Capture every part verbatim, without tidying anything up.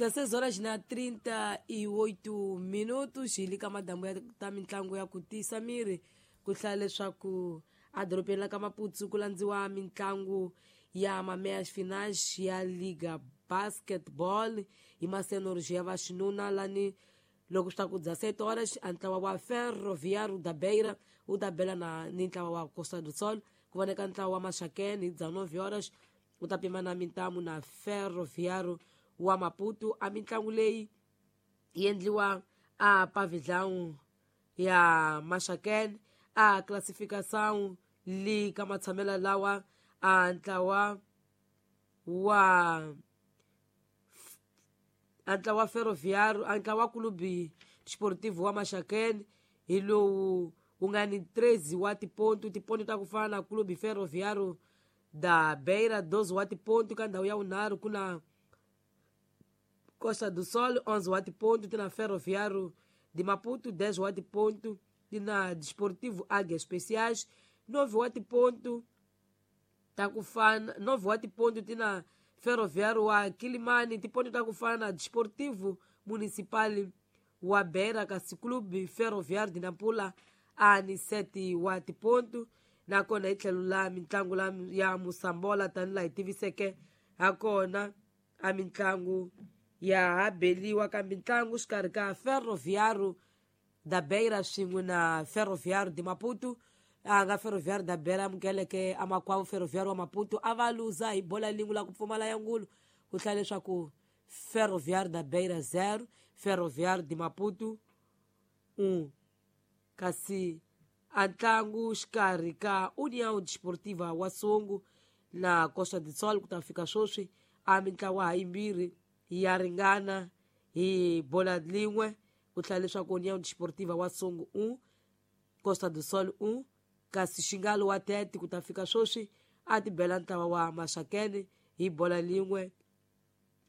dezesseis horas na trinta e oito minutos hi le ka madambu ya ta mitlangu ya ku tisa miri ku hlaya leswaku edorobeni la ka Maputo ku landziwa mitlangu ya mameias finais ya Liga Basketball hi masenors ya vaxinuna lani loko swi ta ku dezessete horas a ntlawa wa Ferroviário da Beira wu ta bela na ni ntlawa wa Costa do Sol ku voneka ntlawa wa Maxakene hi dezenove horas wu ta pima na mintamu na Ferroviário wa Maputo. A mitlangu leyi yi endliwa a pavilhão ya Maxakene a classificação li ka matshamelo lawa a ntlawa wa a ntlawa Ferroviário a ntlawa Clube Desportivo wa Maxakene hi lowu wu nga ni treze wa tiponto tiponto ta ku fana na Clube Ferroviário da Beira doze wa tiponto ka ndhawu ya vunharhu ku na Costa do Sol onze wa tiponto ti na Ferroviário de Maputo dez wa tiponto ti na Desportivo Águias Especiais nove wa tiponto ta ku fana nove wa tiponto ti na Ferroviário wa Quilimane tiponto ta ku fana na Desportivo Municipal wa Beira kasi Clube Ferroviário de Nampula a ni sete wa tiponto. Nakona hi tlhelo la mitlangu la ya Mosambola tanihi laha hi tiviseke hakona a mitlangu ya ha beliwa ka mitlangu xikarhi ka Ferroviário da Beira swin'we na Ferroviário de Maputo. A nga Ferroviário da Beira amukeleke amakwavo Ferroviário wa Maputo a va luza hi bola lingu la ku pfumala ya ngulu ku hlaya leswaku Ferroviário da Beira zero Ferroviário de Maputo um. Kasi a ntlangu xikarhi ka União Desportiva wa Songo na Costa do Sol ku ta fika sweswi a mintlawa ha yimbirhi ya ringana hi bola lin'we ku hlaya leswaku União Desportiva wa Songo um Costa do Sol um. Kasi Xingalo wa Tete ku ta fika sweswi a tibela ntlawa wa Maxakene hi bola lin'we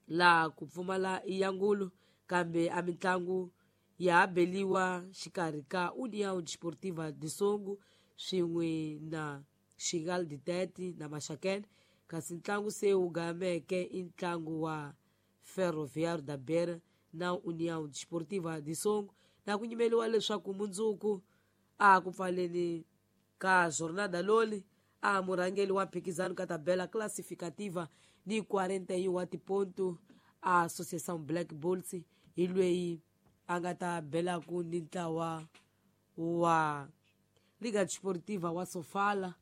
la ku pfumala ya ngulu kambe a mitlangu ya ha beliwa xikarhi ka União Desportiva de Songo swin'we na Xingalo de Tete na Maxakene. Kasi ntlangu se wu gameke i ntlangu wa Ferroviário da Beira na União Desportiva de Songo na ku nyimeliwa leswaku mundzuku a ku pfaleni ka jornada loli a murhangeri wa mphikizano ka tabela classificativa ni quarenta e um wa tiponto a Associação Black Bulls hi lweyi a nga ta belaku ni ntlawa wa Liga Desportiva wa Sofala.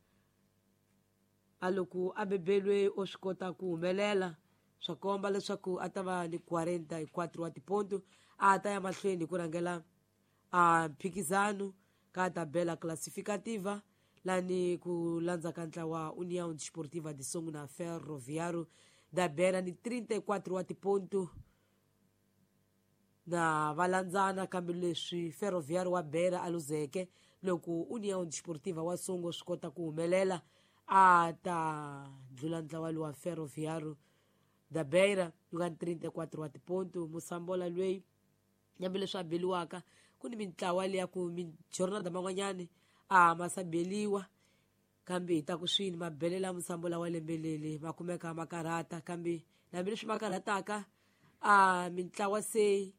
A loko a bebelwe o swi kota ku humelela swa komba leswaku a ta va ni quarenta e quatro wa tiponto a ta ya mahlweni ku rhangela a mphikizano ka tabela classificativa lani ku landza ka ntlawa União Desportiva de Songo na Ferroviário da Beira ni trinta e quatro wa tiponto na valandzana kambe leswi Ferroviário wa Beira a luzeke loko União Desportiva wa Songo swi kota ku humelela a ta dlula ntlawa lowa Ferroviário da Beira wu nga ni trinta e quatro wa tiponto. Mosambola lweyi hambi leswi a beliwaka ku ni mintlawa leya ku mijornada man'wanyani a ma sa beliwa kambe hi ta ku swini mabelela Mosambola wa lembe leli ma kumeka ma karhata kambe hambileswi ma karhataka a mintlawa se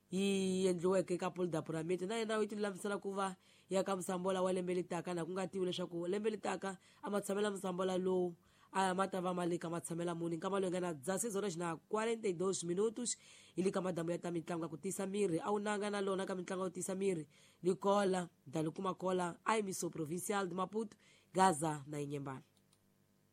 yi endliweke ka Polo da Puramende na yena yi tilulamisela ku va ya ka Mosambola wa lembe letaka na ku nga tivi leswaku lembe letaka a ma tshamela Mosambola lowu a ma ta va ma le ka matshamela muni nkama loyi nga na dezesseis horas na quarenta e dois minutos hi le ka madamu ya ta mitlangu ya ku tisa miri a wu nanga na lona ka mitlangu ya ku tisa miri Nicola Dalukuma Kola a Emissão Provincial de Maputo Gaza na Inhambane.